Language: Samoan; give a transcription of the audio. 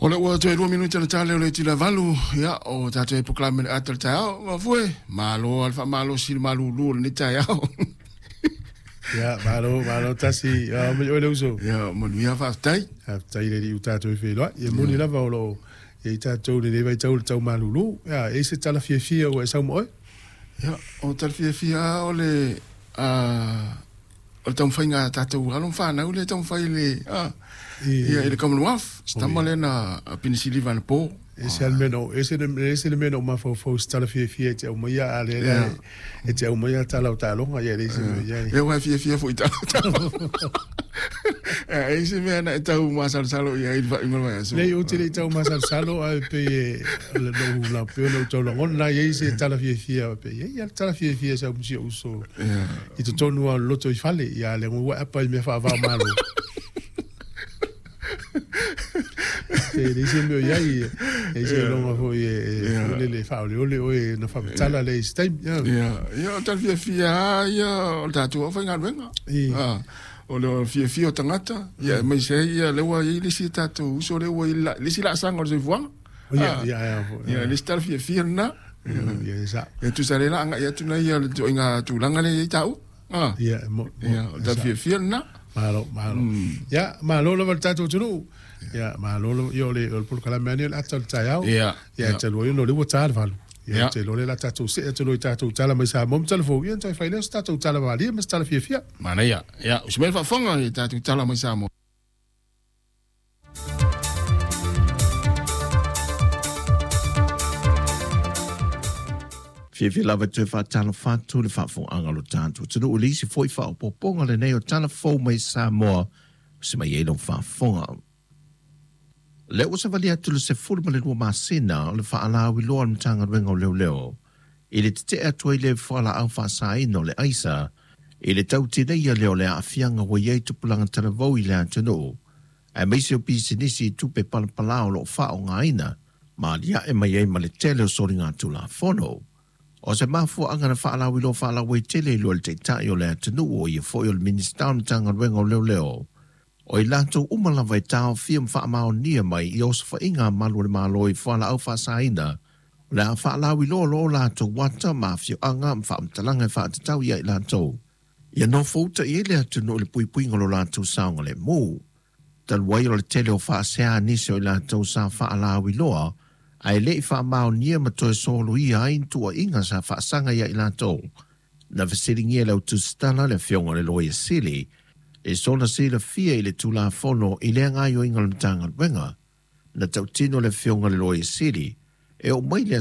O le ua toe 2 minute na tale o le tila 8, ia, o tātou e polokalame le ata o le taeao. Mafue, malo al wha si malulu o le ni taeao. Ia, malo, malo tasi, mai oe le uso. Ia, manuia faafetai. Faafetai le alii ua tatou e feiloai. Ia moni lava o loo i ai tatou i lenei vaitau i le tau malulu. Ia, e i ai se tala fiafia ua e sau ma oe? Ia, o tala fiafia o le o le taumafaiga a tatou alo ma fanau lea e taumafai i le ia i le Commonwealth. Se tama lea na pinisiliva anapo. Ese le mea na ese ese le mea na ou mafaufau i se tala fiafia e te aumaia, a o lea la e te aumaia tala o taaloga, ia e leai se mea o i ai. Ia, ua e fiafia foi i tala o taaloga. E ai se mea na e tau masalosalo i ai i le faaiuga o le vaiaso? Leai, ou te le i tau masalosalo, ae pei e o le lou la pei ona ou tau lagona e i ai se tala fiafia, pei e i ai lava le tala fiafia e sau ma si ou uso i totonu lava o le loto i fale, ia a o lea ua e apa i mea faava o Malo. E leai se mea o i ai, e leai se iloga foi e lele e faaoleole oe na faamatala lea i se taimi. Ia, ia, o tala fiafia lava ia o le tatou aufaigaluega. O le fiafia o tagata, ia aemaise ai ia lea ua i ai le isi tatou uso lea ua i ai le isi laasaga o le soifuaga. Ia, ia, ia. Ia, le isi tala fiafia lena. Ia, e sao. E tusa lea la agai atu nei le ituaiga tulaga lea e i ai taua. Ia, mo, Ia, o le tala fiafia lena. Malo, malo. Ia, malo lava le tatou atunuu. Ia, malo lava. Ia, o le polokalame lava lenei o le ata o le taeao. Ia. Ia, talu ai ona o lea ua ta le 8. Ia, ou te iloa o lea o le a tatou see atu loa i tatou tala mai Samoa ma Talafou, ia ona toe fai lea o se tatou tala malie ma se tala fiafia. Manaia. Ia, usi mai le faafofoga i tatou tala mai Samoa. Fiafia lava e toe faatalofa atu le faafofogaaga a lo tatou atunuu i le isi foi faaopoopoga lenei o tala fou mai Samoa ua se mai ai lau faafofoga. Lea ua savali atu le 12 masina o le faalauiloa a le Matagaluega o Leoleo i le tetee atu ai le fualaau faasaina o le aisa i le tau tineia lea o le aafiaga ua i ai tupulaga talavou i le atunuu aemaise o pisinisi i tupe palapala o lo o faaaogaina ma aliae mai ai ma le tele o soligatulafono. O se mafuaaga na faalauiloa faalauaitele i lua le Taitai o le atunuu o ia foi o le Minisita o le Matagaluega o Leoleo, o i latou uma lava e taofia ma faamaonia mai i osofaiga a malu o le Malo i fualaau faasaina, o le a faalauiloa loa o latou ata ma afioaga ma faamatalaga e faatatau ia i latou. Ia nofouta i ai le atunuu i le puipuiga o lo latou saogalemu. Talu ai o le tele o faasea a nisi o i latou sa faalauiloa ae le i faamaonia ma toe soloia ai ni tuuaiga sa faasaga ia i latou, na fesiligia e le au tusitala le Afioga i le Loia Sili i sona silafia i le Tulafono i lea gaoioiga o le Matagaluega. Na tautino le Afioga i le Loia Sili e oo mai le